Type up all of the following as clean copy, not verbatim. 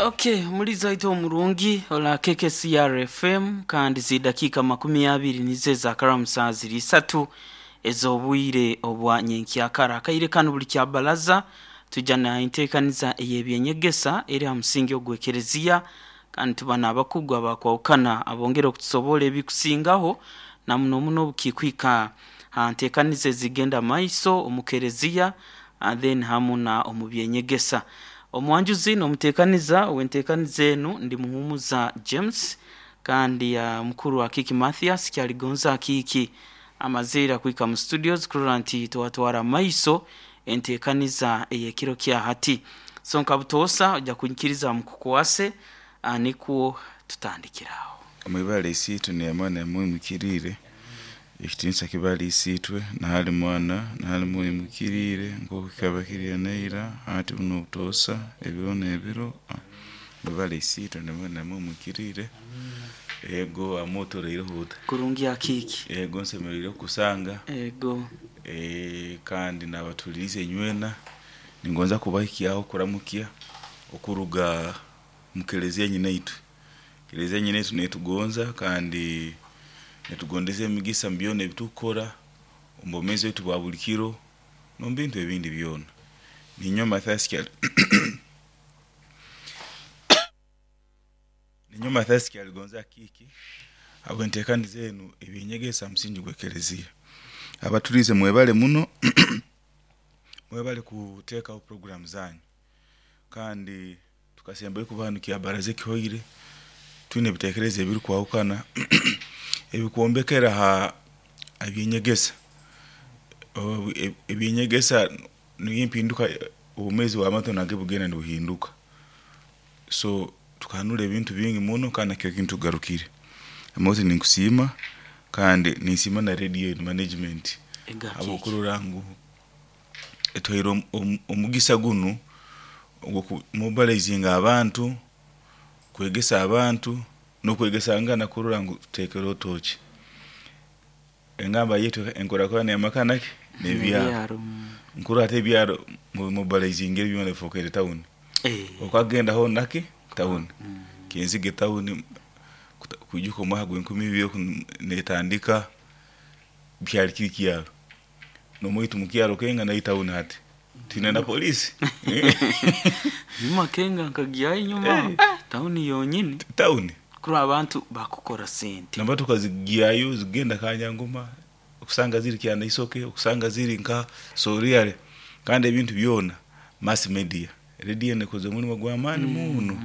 Okay, muliza waitu omurungi ola KKCR FM, kandi zidakika 20 nizo ezakaramu saa ziri 3 ez'obwire obwa nyenkyakara. Akaire kanu buli kya balaza tujja na enteekaniza ey'ebyenyegesa eri ha musingi ogw'ekereziya, kandi tuba n'abakugu abakwahukana abongera okutusobola ebikusingaho na muno muno obukikwika ha nteekaniza ezigenda maiso omu kereziya then hamu na omu byenyegesa. Omwanjuzi n'omuteekaniza ow'enteekaniza enu ndi Muhumuza James, kandi mukuru Akiiki Mathias Kyaligonza Akiiki amazeire kuhika mu studios kurora nti twatwara maiso enteekaniza ey'ekiro kya hati. So nka butoosa ojja kunyikiriza mukukwase nikwo tutandikire aho. Mwebale Isiitwe n'Emwana mwimukiriire, ekitiinisa kibe hali Isiitwe na hali Mwana na hali Mwoyo Muhikiriire, nk'oku kikaba kiri neira, hati bunu obutoosa, ebiro n'ebiro. Mwebale Isiitwe n'Emwana mwimukiriire. Ego amuotoreireho ota? Kurungi Akiiki. Ego nsemeriire kukusanga. Ego. Kandi n'abatuhuliriize inywena, ningonza kubahikyaho okuramukya okuruga mu kelezia nyinaitwe. Kelezia nyinaitwe netugonza kandi netugondeza emigisa mu byona ebitukukora omu bwomeezi bwaitu bwa buli kiro n'omu bintu ebindi byona. Ninyowe Mathias Ninyowe Mathias Kyaligonza Akiiki habw'enteekaniza enu ebyenyegesa ha musingi gw'ekelezia. Abatuliize mwebale muno, mwebale kuteekaho puroguraamu zanyu, kandi tukasembayo kuba hanu kyabaraza ekihoire twine ebiteekerezo ebirukwahukana ebikwombekera ha byenyegesa. Ebyenyegesa niyo empinduka obwomeezi bw'abantu nabwo bugenda nibuhinduka. So tukahanura ebintu bingi muno kandi nakyo kintu tugarukire. Moses ninkusiima kandi ninsiima na radio enu management habw'okurora ngu etuhaire omugisa gunu ogw'okumobilizinga abantu, kwegesa abantu n'okwegesangana kurora ngu tuteekereho tooki. Engamba yaitu enkurakurana y'amaka naki n'ebyaro. Nkurora hati ebyaro mumobilizingire byona bifookere tawuni. Okagenda hoona naki tawuni. Kinzige tawuni kwijuka omwaka gw'enkumi ibiri oku netandika kyali kiri kyaro. N'omwaitu mukyaro kenga nayo tawuni hati. Twine na poliisi. Nyuma kenga nkagyayo enyuma tawuni yonyini. Tawuni. Kurora abantu bakukora sente. N'emotoka zigyayo zigenda Kanyangoma, okusanga ziri Kyanaisoke, okusanga ziri nka Soriare, kandi ebintu byona mass media. Radio enu ekoze omulimo gw'amaani muno.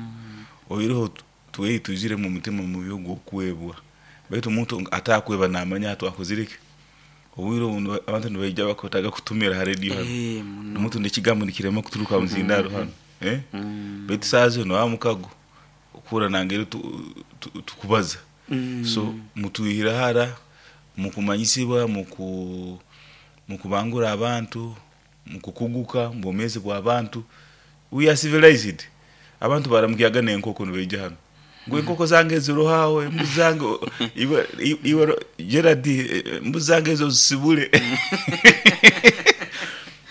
Oihireho twei twiziremu omutima mubi ogw'okwebwa, baitu omuntu atakweba namanya hati akozire ki. Obwire obu abantu nibaija bakwetaaga kutumira ha radio hanu, omuntu n'ekigambo nikirema kuturuka ha muzindaaro hanu, baitu saaha zinu wa mukago okuhurra nangeri tukubaza. So mutwihire hara mukumanyisibwa, mukubangura abantu, mukukuguka omu bwomeezi bw'abantu. We are civilized. Abantu baramukyaga n'enkoko nibaija hanu, ngu enkoko zange ziroho aho, embuzi zange iwe iwe Gerald embuzi zange ezo ozisibule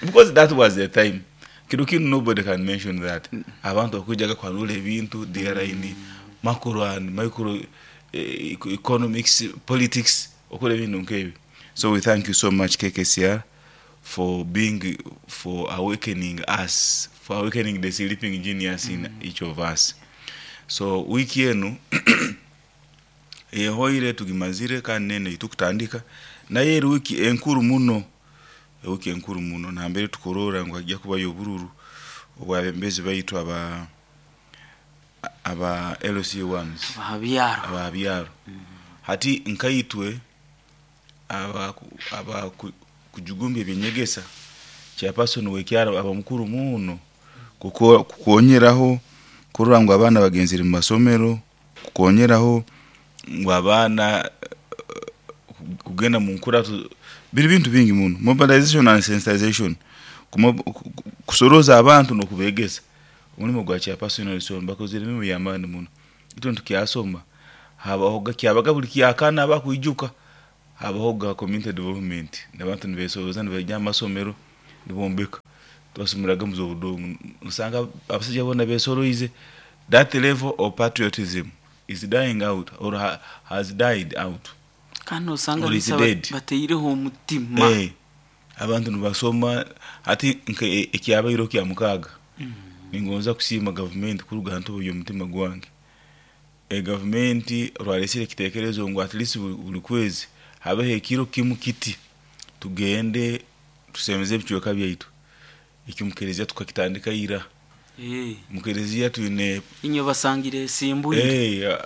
because that was the time. Kiro kinu nobody can mention that. Abantu bakwijaga kuhanura ebintu, they are in macro and micro economics, politics, okora ebintu nk'ebi. So we thank you so much KKCR for being, for awakening us, for awakening the sleeping genius in each of us. So wiiki enu ehoire tugimazire kandi n'enu eitukutandika, nayo eri wiiki enkuru muno, ewiiki enkuru muno nambere tukurora ngu haija kubayo obururu obw'abebembezi baitu aba aba LC1s Ababyaro. Ababyaro. Hati nkaitwe aba kujugumbya ebyenyegesa, chairperson w'ekyaro aba mukuru muno kukonyeraho kurora ngu abaana bagenzere mu masomero, kukonyeraho ngu abaana kugenda mu nkurato, biri bintu bingi muno. Mobilization and sensitization, kusorooza abantu n'okubegesa. Omulimo gwa chairperson w'eisomero bakozere emirimo y'amaani muno. Itwe nitukyasoma, habahoga kyabaga buli kyakana abakwijuka, habahoga community development, abantu nibesorooza nibaija ha masomero nibombeka. Twasomeraga omu z'obudongo, nosanga abasaija boona besoroize. That level of patriotism is dying out or has died out. Kandi nosanga Or is nisa dead. bateireho omutima. Abantu nibasoma hati nka ekyabaire kya mukaaga. Ningonza kusiima gavumenti kuruga ha ntobo y'omutima gwange. Gavumenti rwalesire ekitekerezo ngu at least buli kwezi habeho ekiro kimu kiti tugende tusemeze ebicweka byaitu. Ekyo mukereziya tukakitandika ira. Mukereziya twine Inywe basangire esimbwire.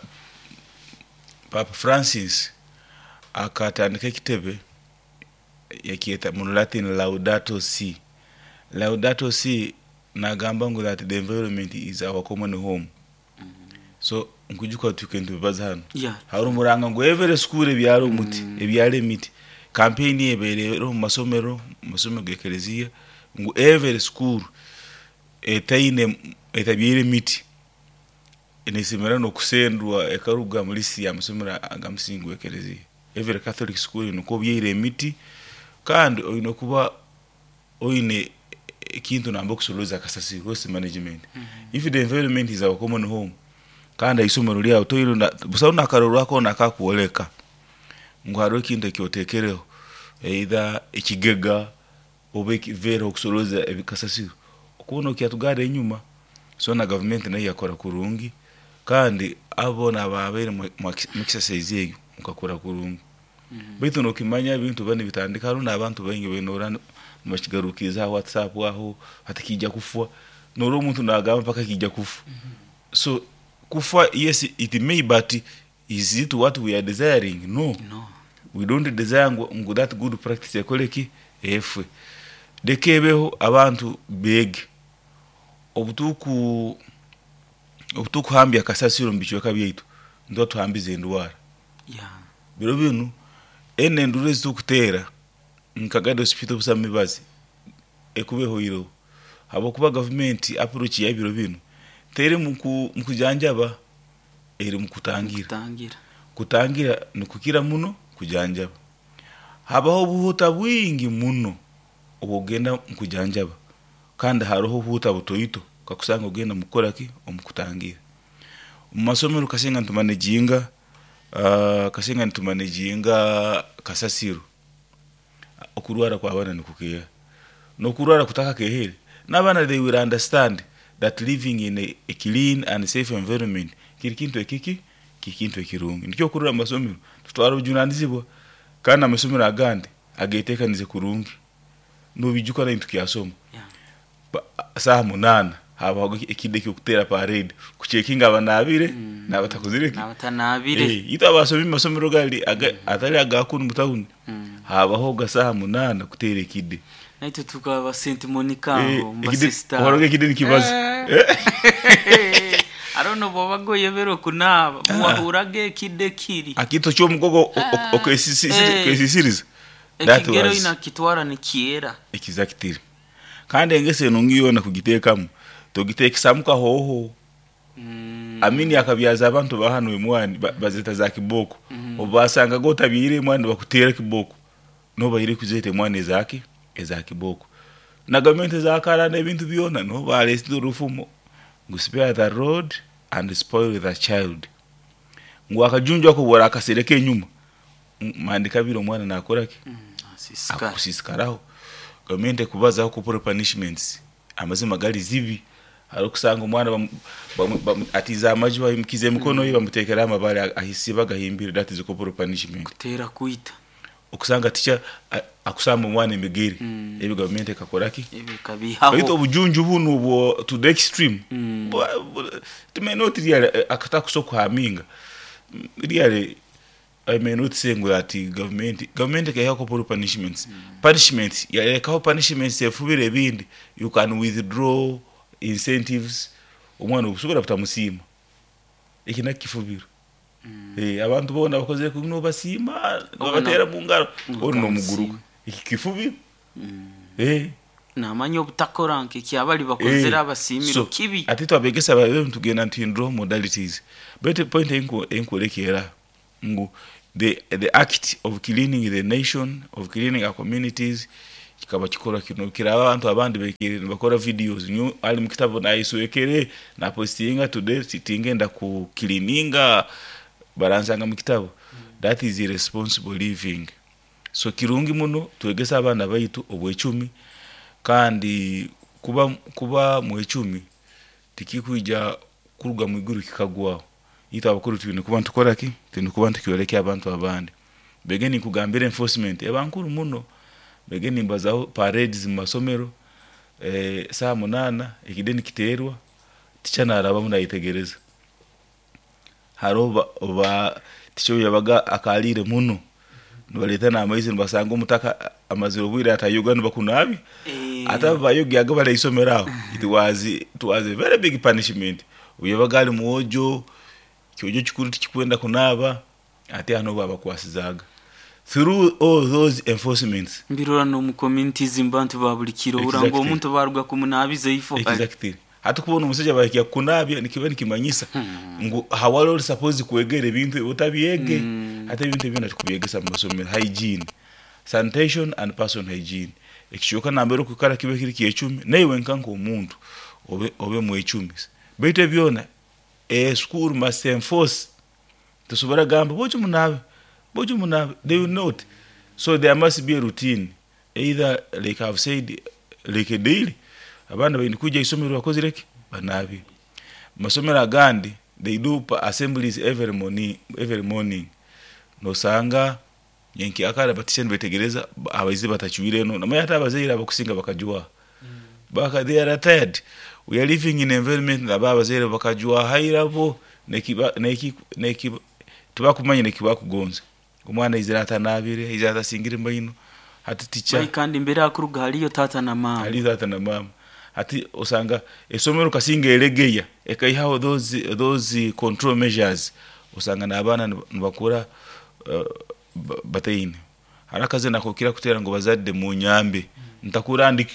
Papa Francis akatandika ekitebe yakyeta mu Latin Laudato Si. Laudato Si nagamba ngu that the environment is our common home. So nkujuka tuke nitubibaza hano. Hari omuranga ngu every school ebyara omuti, ebyara emiti. Campaign ebeere omu masomero, mu masomero g'ekereziya ngu every school etaine etabyaire emiti nesemera n'okusendwa ekaruga mu list y'amasomero agamusingi gw'ekereziya. Every Catholic school oine kuba obyaire emiti kandi oine kuba oine ekintu namba okusoroza akasasiro, waste management. If the environment is our common home, kandi aisomero lyawe toine busaho n'akarorwaho koona akakwoleka ngu hariho ekintu eki oteekereho, either ekigega oba ekiveera okusoroza ebikasasiro, okuba nokyatugara enyuma. So na gavumenti nayo yakora kurungi kandi abo boona ababaire mu exercise egyo mukakora kurungi. Baitu nokimanya ebintu biba nibitandika hariho n'abantu baingi baine nibakigarukiriza ha WhatsApp aho hati kiija kufa, norora omuntu nagamba mpaka kiija kufa. So kufa yes it may, but is it what we are desiring? No. No. We don't desire ngu that good practice ekore ki? Efwe. Leka ebeho abantu beege. Obutukuhambya akasasiro omu bicweka byaitu, nituba tuhambize endwara. Biro binu enu enduru ezitukuteera nka Gadi Hospital busamu mibazi ekuba ehoireho habwokuba gavumenti approach ya biro binu teri mu kujanjaba, eri mu kutangira. Kutangira nikukira muno kujanjaba. Habaho obuhuta bwingi muno obw'okugenda mu kujanjaba kandi haroho obuhuta butoito kakusanga ogenda mu kukora ki? Omu kutangira. Omu masomero kasinga nitumanejinga kasasiro, okurwara kw'abaana nikukeeha. N'okurwara kutakakeehere, n'abaana they will understand that living in a clean and safe environment kiri kintu ekiki? Kiri kintu ekirungi. Nikyo okurora omu masomero tutwara obujunanizibwa kandi amasomero agandi ageteekanize kurungi. Nobijuka naitwe tukyasoma, saaha 8 habaho ekide eky'okuteera parade kucekinga abanaabire n'abatakozire ki? N'abatanaabire. Itwe abasomi omu masomero gali atali aga kunu mu tawuni, habahoga saaha 8 kuteera ekide. Naitwe tukaba St Monica aho mu basisita. Waroga ekide nikibaza. Hariho n'obwobaga oyebere okunaaba, wahuraga ekide kiri. Akito ky'omugogo okesisiriza. Ekigero inakitwara nikyera. Exactly. Kandi engeso enungi yoona kugiteekamu, togiteekesamu kahooho. Amini akabyaza abantu ba hanu emwani bazeta za kiboko. Obu basangaga otabyaire emwani bakuteera kiboko. Niho baire kuzeta emwani ezaki? Eza kiboko. Na gavumenti ezakara n'ebintu byona niho balesire orufumo ngu spare the rod and spoil the child. Ngu akajunju ako obu orakasereka enyuma, mandi kabiri omwana nakora ki? Akusiisikaraho. Gavumenti ekubazaho corporal punishments, amazima gali zibi. Hariho okusanga omwana atiize amaju aimukize emikono ye bamuteekeraho amabaare ahisiibe agahimbire, that is corporal punishment. Kuteera kwita. Okusanga teacher akusamba omwana emigere, ebi gavumenti ekakora ki? Ebi ekabiihaho. Baitu obujunju bunu obwo to the extreme, it may not really akatakusobola kuhaminga, really I may not say ngu ati gavumenti ekaihaho corporal punishments. Punishments, yarekaho punishments efubire ebindi, you can withdraw incentives, omwana obusobora butamusiima. Eki nakyo kifubiro. Abantu boona bakozire kubi nobasiima, nobateera mu ngaro, onu nomuguruka. Eki kifubiro. Namanya obutakora nk'ekyabali bakozire abasiimire So, kibi. ati itwe abegesa babe nitugenda nituhinduraho modalities. Baitu point enkwoleka ngu the act of cleaning the nation, of cleaning our communities Kikaba kikora kino kiraba abantu abandi bekire nibakora videos, nyo ali mu kitabo nayiswekere napostinga today, tingenda ku cleaninga baransanga mu kitabo. That is irresponsible living. So kirungi muno twegesa abaana baitu obwecumi, kandi kuba mwecumi tikikwija kuruga mwiguru kikagwaho. Itwe abakuru twine kuba nitukora ki? Twine kuba nitukyoleka abantu abandi. Bege ninkugambira enforcement eba nkuru muno. Bege nimbazaho parades mu masomero, saa 8 ekideni kiterwa, ticha narabamu nayetegereza. Hariho ba ticha obu yabaga akaliire muno, nibaleta n'amaizi nibasanga omutaka amazire obwire atayoga nibakunabya. Ate abo bayogyaga bali haisomero aho. It was a very big punishment. Obu yabaga ali mwojo, kyojo kikuru tikikwenda kunaaba, ate hano babakwasizaaga. Through all those enforcements. Mbirora n'omu communities mu bantu ba buli kiro uranga omuntu baruga kumunabiza ifo. Exactly. Hati kubona omusajja bahikya kukunabya nikiba nikimanyisa ngu hawali ori suppose kwegera ebintu ebi otabyege. Hati ebintu ebi tukubyegesa mu masomero, hygiene, sanitation and person hygiene. Ekicweka nambere okwikara kibe kiri kyecumi, naiwe nka nk'omuntu obe mwecumi. Baitu ebyona a school must enforce. Tosobora gamba bojo munabe, bojo munabe, they will not. So there must be a routine, either like I've said, like a daily. Abaana baine kwija isomero bakozire ki? Banabe. Masomero agandi they do assemblies every morning, every morning. Nosanga nyenkyakara batisha nibetegereza abaizi batachwire eno, namanya hata abazaire abakusinga bakajwaha. Baka they are tired. We are living in environment aba abazaire bakajwaha hairabo nekiba neki neki tibakumanya nekibakugonza. Omwana aizire atanabire, aizire atasingire maino. Hati ticha Bai kandi mbere akuruga haliyo tata na mama. Hali tata na mama. Hati osanga esomero kasinga elegeya ekaihaho those control measures, osanga n'abaana nibakura bataine. Hari akazi nakokira kutera ngo bazadde munyambe ntakura ndi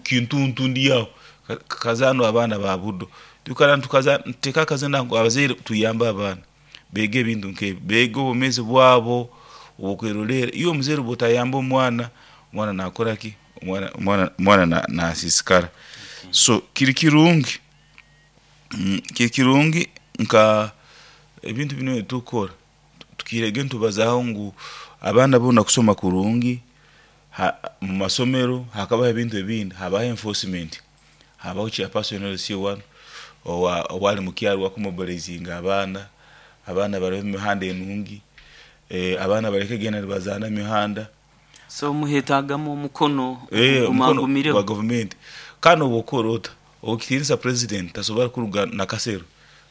kintuntu ndi aho. Kazano abaana ba buddo tukara tukaza nteka akazina ngo abazaire tuyambe abaana bege ebintu nkebi, bege obumezi bwabo obukwerolera. Iyo omuzaire bwotayamba omwana, omwana nakora ki? Omwana nasisikara. So kiri kirungi, kiri kirungi nka ebintu bino tukora tukirege ntubazaho ngu abaana bona kusoma kurungi mu masomero hakabaho ebintu ebindi, habaho enforcement, habaho chairperson LC1 owa owali mukyaro wakumobilizinga abaana, abaana bari mu mihanda enungi, abaana bareke genda nibazana emihanda. So muhetagamu omukono omukono gumagumireho gwa government. Kandi obwokora ota okitinisa president tasobora kuruga nakasero,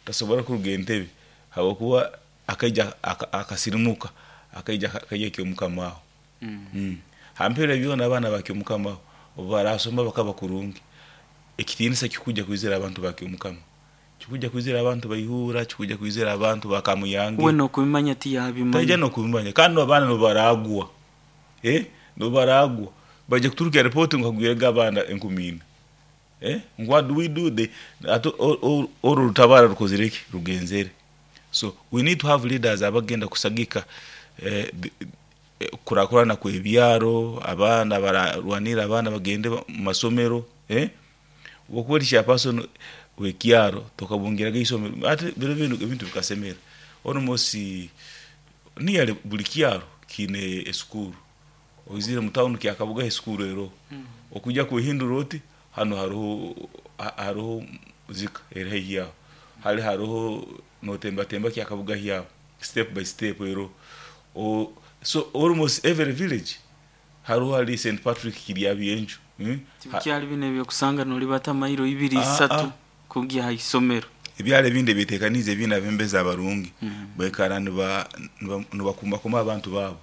tasobora kuruga entebe, habwokuba akaija akasirimuka akaija akaija kyomukamaho. Hampera byona abaana bakyomukamaho obu barasoma bakaba kurungi, ekitinisa kikuja kwizira abantu bakyomukama, kikuja kwizira abantu baihura, kikuja kwizira abantu bakamuyange. We nokubimanya tiyabimanya. Taija nokubimanya. Kandi abaana nobaragwa, nobaragwa baje kuturuka report ngo kagwirega abaana 4,000. What do we do? They ato oro rutabara rukozire ki rugenzere. So we need to have leaders abagenda kusagika kurakurana kwebyaro, abaana bararwanira abaana bagende mu masomero. Wokuba chairperson wekyaro tokabungiraga isomero ate biro bino ebintu bikasemera almost niyale buli kyaro kine esukuru. Oizire mu town kyakabuga esukuru ero, okujja kuhindura oti hano hariho zika eri haihi yaho, hali hariho notembatemba kyakabuga hyaho step by step ero. So almost every village hariho hali St Patrick Kiryabienju. Tibyali bino ebyokusanga nolibata mairo ibiri isatu kugya ha isomero. Ebyalo ebindi byetekanize ebindi abembezi abarungi baikara nibakumakuma abantu babo.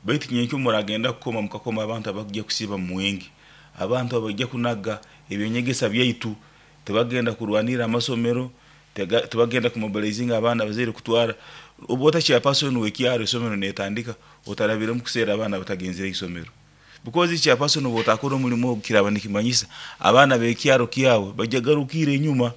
Baitu nyenkyo muragenda kukoma mukakoma abantu abakujya kusiba mwingi, abantu abajya kunaga ebyenyegesa byaitu, tebagenda kurwanira amasomero, tebagenda kumobilizinga abaana abazaire kutwara. Obu chairperson wekyaro isomero netandika otarabiremu kuseera abaana batagenzere isomero, because chairperson obu otakora omulimo ogu kiraba nikimanyisa abaana bekyaro kyawe bajya garukira enyuma,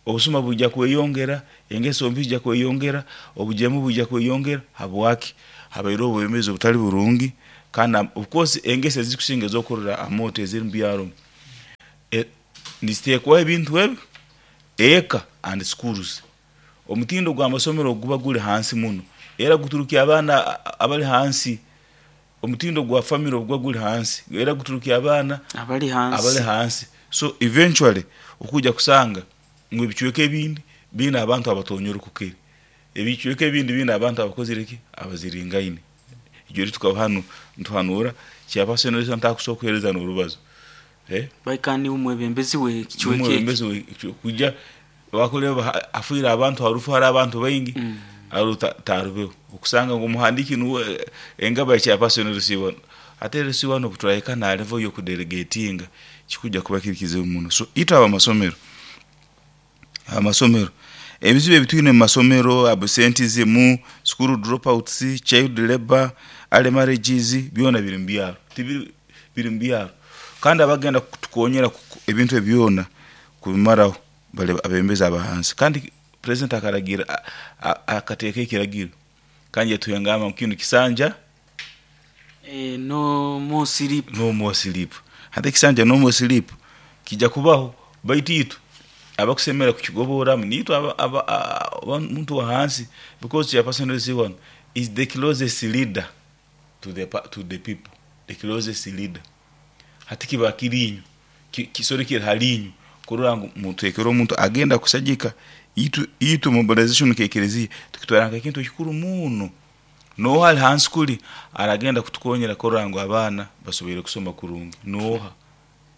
obusuma bujja kweyongera, engeso mbi zijja kweyongera, obujemu bujja kweyongera. Habwaki? Habaire obwemezi obutali burungi. Kandi of course engeso ezikusinga ezokurora amoto eziri mu byaro niziteekwaho ebintu ebi eka and schools. Omutindo gw'amasomero guba guli hansi muno, era guturukya abaana abali hansi. Omutindo gwa family oguba guli hansi, era guturukya abaana abali abali hansi. Hansi. So eventually okujja kusanga ngu ebicweka ebindi biine abantu abatonyere kukiri, ebicweka ebindi biine abantu abakozire ki, abaziringaine. Ijwe tukaba hanu ntuhanura chairperson ntakusobola kuheereza n'orubazo. Baikani niwe mwebembezi w'ekicweka eki. Omwebembezi kujja bakureba afiire abantu harufu, hari abantu baingi aro tarubeho okusanga ngu omuhandiiki nuwe engaba ya chairperson rusiibano, ate rusiibano obu turahika na level y'okudelegatinga kikujja kuba kiri kizibu muno. So itwe abamasomero ebizibu ebitwine mu masomero, absenteeism, school dropouts, child labor, early marriages, byona biri mu byaro, tibiri biri mu byaro. Kandi abagenda kutukonyera ebintu ebi byona kubimaraho bali abebembezi abahansi. Kandi president akaragira, akateeka ekiragiro kandi yatuhengama ngu kinu kisanja No more sleep. No more sleep. Hati ekisanja no more sleep kijja kubaho, baitu itwe abakusemera kukigoboramu niitwe muntu wa hansi, because chairperson LC1 is the closest leader to the people, the closest leader. Hati kiba kiri inywe, kisoro kiri hali inywe kurora ngu mutekere omuntu agenda kusagika itwe. Mobilization nk'ekereziya tukitwara nk'ekintu ekikuru muno. Noha ali hansi kuli aragenda kutukonyera kurora ngu abaana basoboire kusoma kurungi? Noha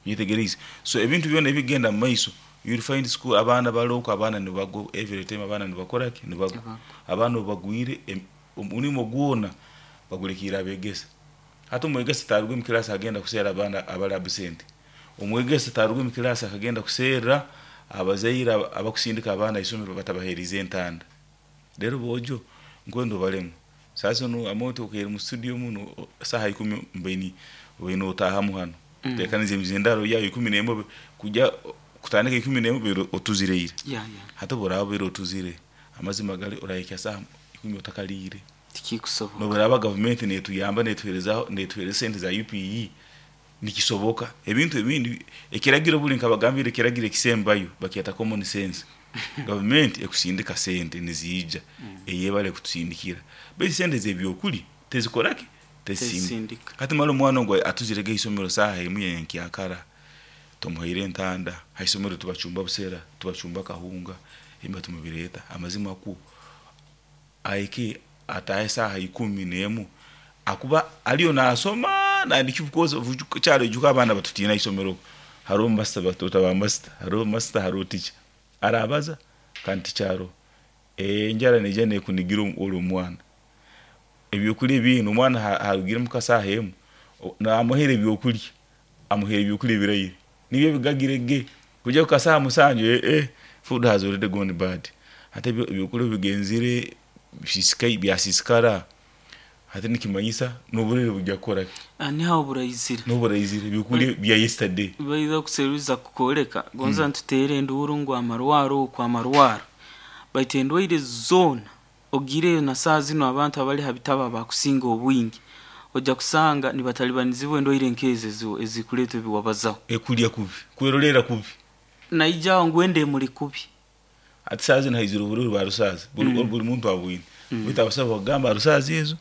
nyetegerize? So ebintu byona ebigenda mu maiso, you'll find school abaana baloko, abaana nibagwa every time, abaana nibakora ki, nibagwa. Abaana obu bagwire, omulimo gwona bagulekiire abegesa. Hati omwegesa taruga omu kirasi agenda kuseera abaana abali absent. Omwegesa taruga omu kirasi akagenda kuseerra abazaire abakusindika abaana isomero batabaherize entanda. Rero bojo nkwenda obalemu sasa nu amoto okaire mu studio muno saha 10 mbaini obaine otahamu hano tekaniza emizindaro yayo 11 kujya kutandika 11 biro otuzireire. Hati oburaba biro otuzire, amazima gali orahika saha 10 otakaliire. Tikikusoboka. Noburaba gavumenti netuyamba, netuherezaho, netuhereza sente za UPE, nikisoboka. Ebintu ebindi ekiragiro buli nkabagambire, ekiragiro ekisembayo bakyeta common sense. Gavumenti ekusindika sente niziija, eyebale kutusindikira, baitu sente z'ebyokulya tezikoraki, tezisindika. Tezisindika. Hati mara omwana ogu atuzirege isomero saaha 1 yenkyakara, tumuhaire entanda. Haisomero tubacumba busera, tubacumba kahunga, emba tumubireeta. Amazima kwo ahike atahe saaha 11 akuba aliyo nasoma nandiki, because kyaro ijuka abaana batutina isomero. Hariho master, batuta ba master, hariho master, hariho teacher arabaza kandi tikyaro enjara neija nekunigira ori omwana. Ebyokulya ebindi omwana harugire muka saaha 1, namuhaire ebyokulya, amuhaire ebyokulya ebiraire nibyo bigagire ge kujya kuka saaha 7, food has already gone bad. Hati ebyokulya bigenzire bisisikai, byasisikara. Hati nikimanyisa n'oburire bujja kukora ki? Niho burayizire. N'oburayizire ebyokulya bya yesterday. Baiza kuseruza kukoleka gonza ntutere enduru ngu amarwaro okwo amarwaro, baitu endwaire zoona ogireyo na saa zino abantu abali ha bitabo abakusinga obwingi ojja kusanga nibatalibanizibwa endwaire nk'ezo ezikuleetwa ebiwabazaho. Ekulya kubi, kwerolera kubi. Naija ngu ende emuli kubi. Hati saa zino haizire obururu bwa rusaazi buli buli muntu abwine, baitu abasawo bakugamba rusaazi ezo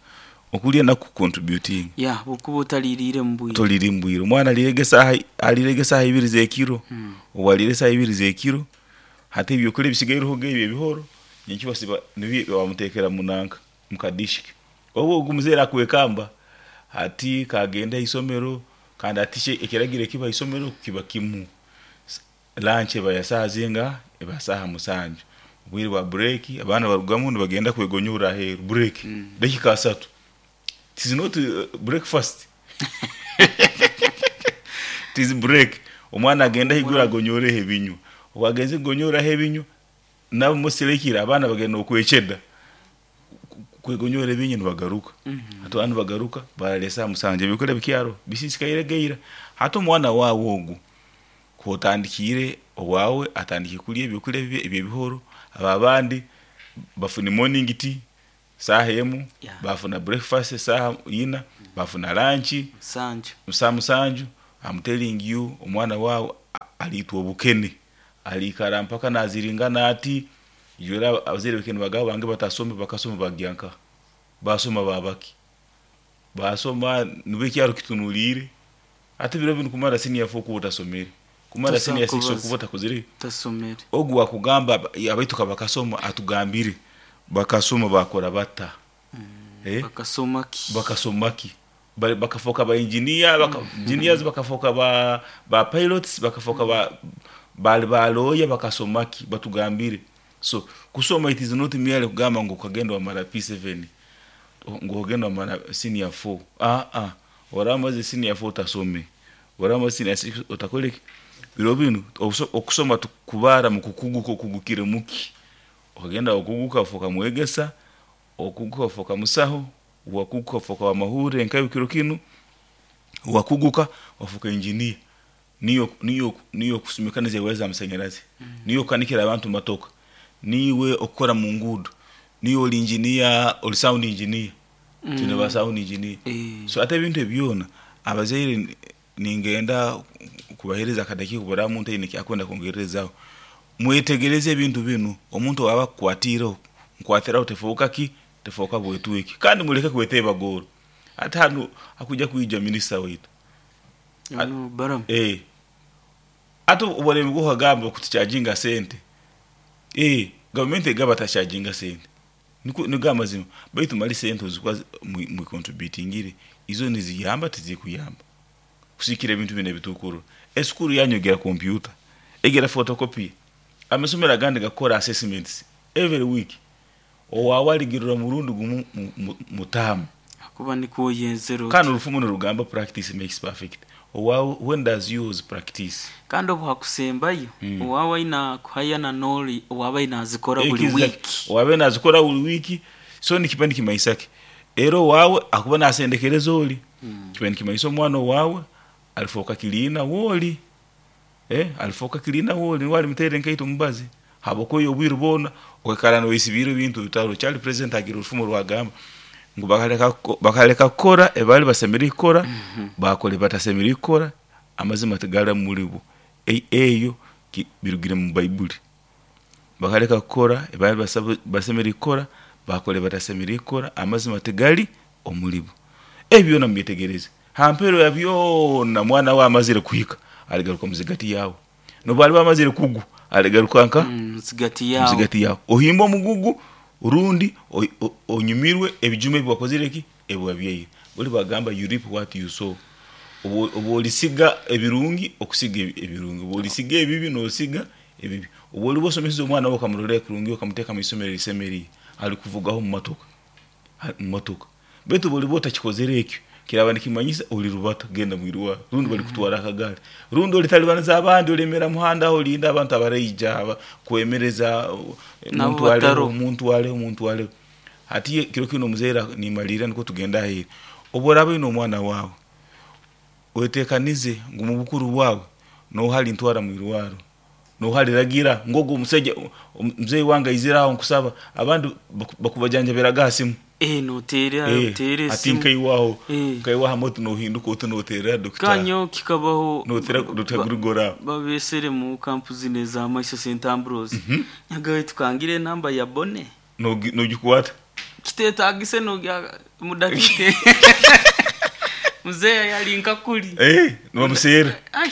okulya naku contributing. Ya bwokuba otaliriire mu bwire. Toliri mbwire. Omwana alirege saaha 2 z'ekiro. Obu alire saaha 2 z'ekiro, hati ebyokulya bisigaireho ebyo ebihoro nyenkyo basiba nibyo bamuteekera munanka mukadishiki. Obu ogu muzeere akwekamba hati kagende haisomero. Kandi ati ekiragiro ekiba haisomero kiba kimu, lunch eba ya saaha zinga? Eba saaha 7. Obwire bwa break abaana barugamu nibagenda kwegonyora aheeru. Break dakika 30, it is not breakfast, it is break. Omwana agenda haiguru agonyoreho ebinywa. Obu agenze kugonyoraho ebinywa, nabo musirekire abaana bagenda okwekyeda kwegonyora ebinywa, nibagaruka. Hati abaana nibagaruka barara esaaha 7, ebyokulya bikyaro bisisikaire geira. Hati omwana waawe ogu kwotandikiire owaawe atandike kulya ebyokulya ebyebihoro, abo abandi bafune morning tea. Saaha emu. Yeah. Bafuna breakfast saaha ina, bafuna lunch Musanju. Saa 7. I'm telling you, omwana waawe aliitwa obukene, aliikara mpaka naziringana ati jwera. Abazaire bekene bagabo bange batasome, bakasoma bagyanka basoma babaki basoma nibwo ekyaro kitunuliire. Ate biro binu kumara senior 4 kuba otasomere, kumara Tosobola senior 6 kubaza. okuba otakozire. Tasomere. Ogu wakugamba abaitu bakasoma, atugambire bakasoma bakora bata, eh? Bakasoma ki? Bakasoma ki? Bakafoka ba engineer, baka engineers, bakafoka ba pilots, bakafoka ba bali baloya, bakasoma ki? Batugambire. So kusoma, it is not merely kugamba ngo ukagenda wamara P7, ngo ugenda wamara senior 4. Ah ah, waramaze senior 4 utasome, waramaze senior 6 utakoleki. Biro binu okusoma tukubara mu kukuguka, okugukire muki? Ukagenda okuguka ufoka mwegesa, okuguka ufoka musaho, wakuguka ufoka wa mahure nkayo kiro kinu, wakuguka wafuka engineer, niyo kusumikaniza ewaya z'amasanyarazi, niyo okanikira abantu matoka, niwe okukora mu nguudo, niyo oli engineer, oli sound engineer, tune ba sound engineer. Eh. So ate ebintu ebyona abazaire ningenda kubahereza akadakiika kubura muntu aine kyakwenda kwongerezaho. Mwetegereze ebintu binu. Omuntu waba akukwatiireho, nkwatiraho, tefuuka ki, tefuuka bwetweki. Kandi muleke kweteba goro. Ate hanu hakuja kwija minisita waitu. Ono Balaam. Eh, ate oburemi bwokagamba kutucharginga sente, eh, gavumenti egaba tacharginga sente. Niko nigo amazima. Baitu mali sente ozikuba mwicontributingire izo niziyamba, tizikuyamba kusikira ebintu bino ebitukuru. Esukuru yanyu egera kompyuta, egera photocopy? Amasomero agandi gakora assessments every week. Owawe aligirira murundi gumu mutamu. Kuba niko yenzero. Kandi orufumu nirugamba, "Practice makes perfect." Owawe, when does yours practice? Kandi obu hakusembayo, owawe aina kuhayana noli owaba aina azikora buli Exactly. wiki. Wabe nazikora buli wiki. So nikiba nikimaisake era owawe akuba nasendekereza oli, kiba nikimaisa omwana owawe alifoka kiliina woli, eh, alifoka kiliina woli niwe alimuteera enkaito mubazi habwokuba obwire bwona okaikara noyesibiire ebintu bitaro. Kyali president agira orufumo rwagamba ngu bakaleka kukora ebali basemeriire kukora, bakora ebatasemeriire kukora, amazima tigara muribo. Eyo birugire mu Baibuli. Bakaleka kukora ebali basemeriire kukora, bakora ebatasemeriire kukora, amazima tigali omulibo. Ebyo byona mubyetegereze. Hampero ya byona, mwana we amazire kuhika, aligaruka muzigati yawe. Nobu aliba amazire kugwa, aligaruka nka Muzigati yawe. Muzigati yawe. Ohimba omugugu rundi onyumirwe ebijuma ebi wakozire ki, ebi wabyaire. Buli bagamba, "You reap what you sow." Obu olisiga ebirungi, okusiga ebirungi. Obu olisiga ebibi, nosiga ebibi. Obu oliba osomesize omwana wawe, okamurolera kurungi, okamuteeka mu isomero erisemeriire, alikuvugaho mu matoka, mu motoka. Baitu obu oliba otakikozere ekyo, kiraba nikimanyisa oli rubata genda mwirwaro, rundi balikutwara akagaari, rundi olitalibaniza abandi, olemera muhanda aho olinda abantu abaraija kwemereza Nabo omuntu aleho, bataro. omuntu aleho, omuntu aleho. Hati kiro kino omuzaire nimalira niko tugenda aheeri. Obu oraba oine omwana wawe, wetekanize ngu mu bukuru bwawe noha alintwara mwirwaro, noha aliragira ngogu omusaija muzeyi wange aizire aho nkusaba. Abandi bakubajanjabiraga ha simu. Eh, notera Eh, utere ati esimu. nkaiwaho, Eh. nkaiwaho moto, nohinduka oti noterera dokita. Kanyo kikabaho. Notera Dr. Grigora. Babesere mu kampu zine za Maiso St Ambrose, nyagawe tukangire enamba ya bone. Nogikwata. Kitetagise nogya mudakike muzeya yali nkakuli. Eh, nibamuseera. Ai.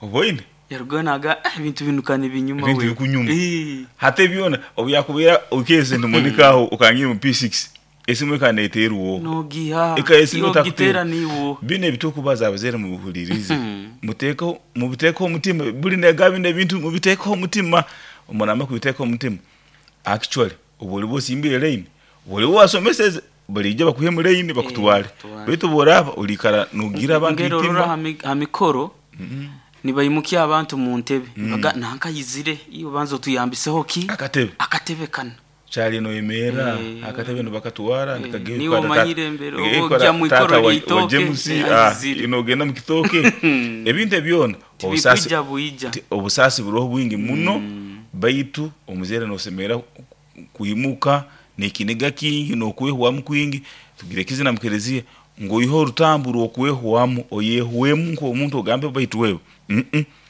Oboine. Yaruga naga, "Ah, ebintu binu kani binyuma." Ebintu We. bikunyuma. Eh. Hata byona obu yakubwira okese ntimonikaho ukangira mu P6, esimu ekaneterwa Nogiha. Eka esimu. Yogitera niwo. Bino ebitukubaza, abazaire mubihulirize, muteekeho, mubiteekeho omutima. Buli nega bino ebintu mubiteekeho omutima. Omunama kubiteekaho omutima, actually obu oliba osimbire line, obu oliba wasomeseze, balijja bakuhe mu line bakutwale. Bakutwale. Baitu bworaba olikara nogira abantu Ngero rora itima. ha mikoro nibaimukia abantu mu ntebe, baga nankayizire iyo banza otuyambiseho ki akatebe. Akatebe kano. Kyali noyemerera. Eh. Akatebe nibakatwara. Niwe omanyire mbere, oba ojja mu ikoro ly'eitooke, James ayizire. inogenda mu kitooke. Ebintu ebyona obusaasi Tibikuija buija. Obusaasi buroho bwingi muno. Baitu omuzaire nosemera kuimuka. Nekiniga kingi nokwehwamu kwingi. Tugira ekizina mukereziya ngu oihe orutambu rwokwehwamu, oyehwemu nk'omuntu ogambe baitu wewe.